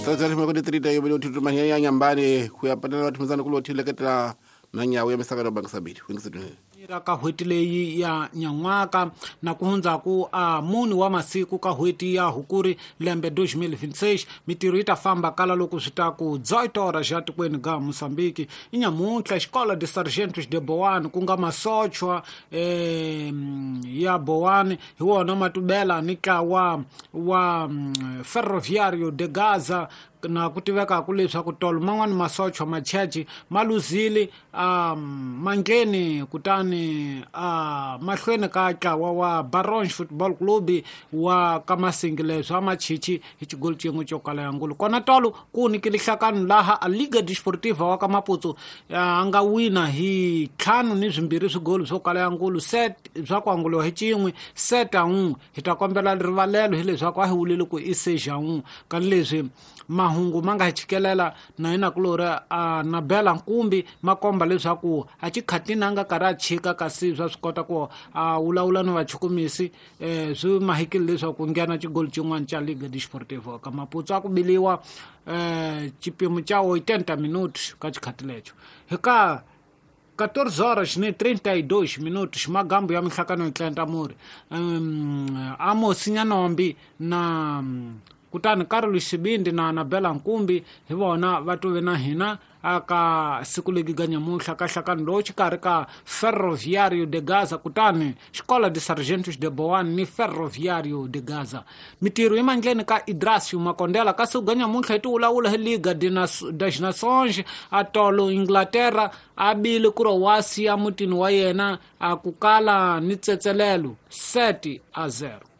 Tsatsarimako ya nyambani ku ya panela vathumizana ku lothileketela na nyawo ya misaka no bangisabili wingisedunene ra ka n'hweti leyi ya nyan'waka na ku hundzaku a mune wa masiku ka n'hweti ya hukuri lembe 2026. Mitirho yi ta famba kala loko swi ta ku 18 horas ya tikweni ga Mosambiki. I nyamuntlha Xikola de Sargentos de Boane, ku nga masochwa ya Boane, hi wona matubela ni ntlawa wa Ferroviario de Gaza, na ku tivekaku leswaku tolo man'wani masochwa machechi ma luzile a mangleni kutani a mahlweni ka ntlawa wa Baronge Football Club wa ka Masingi, leswi a machichi hi xigolo xin'we xo kala ya ngulu. Kona tolo ku nikile nhlakano laha a Liga Desportiva wa ka Maputo a nga wina hi 5-2 swigolo swo kala ya ngulu, set swa ku anguliwa hi xin'we 7-1. Hi ta kombela rivalelo hileswaku a hi wulile ku i 6-1, kani leswi mahungu ma nga hi chikelela na yena kulori a nabela nkumbi ma komba leswaku a xikhatini a nga karhi a chika, kasi swa swi kota ku a vulavula ni vachukumisi, swi mahikile leswaku ku nghena xigolo xin'wana xa Liga Desportiva ka Maputo. A ku biliwa xipimo xa 80 minutos ka xikhati lexo hi ka 14 horas ni 32 minutos, magambo ya minhlakano yi tlenta muri Amos Nyanombi na kutani Carlos Sibindi na Anabela Nkumbi hi vona va tuve na hina aka siku legi ga nyamuntlha ka nhlakano lowu xikarhi ka Ferroviario de Gaza kutani Xikola de Sargentos de Boane ni Ferroviario de Gaza. Mitirho yi mandleni ka Idrasio Makondela. Ka siku ga nyamuntlha hi ti vulavula hi Liga das Nações. A tolo Inglaterra a bile Croatia mutini wa yena a ku kala ni tsetselelo 7-0.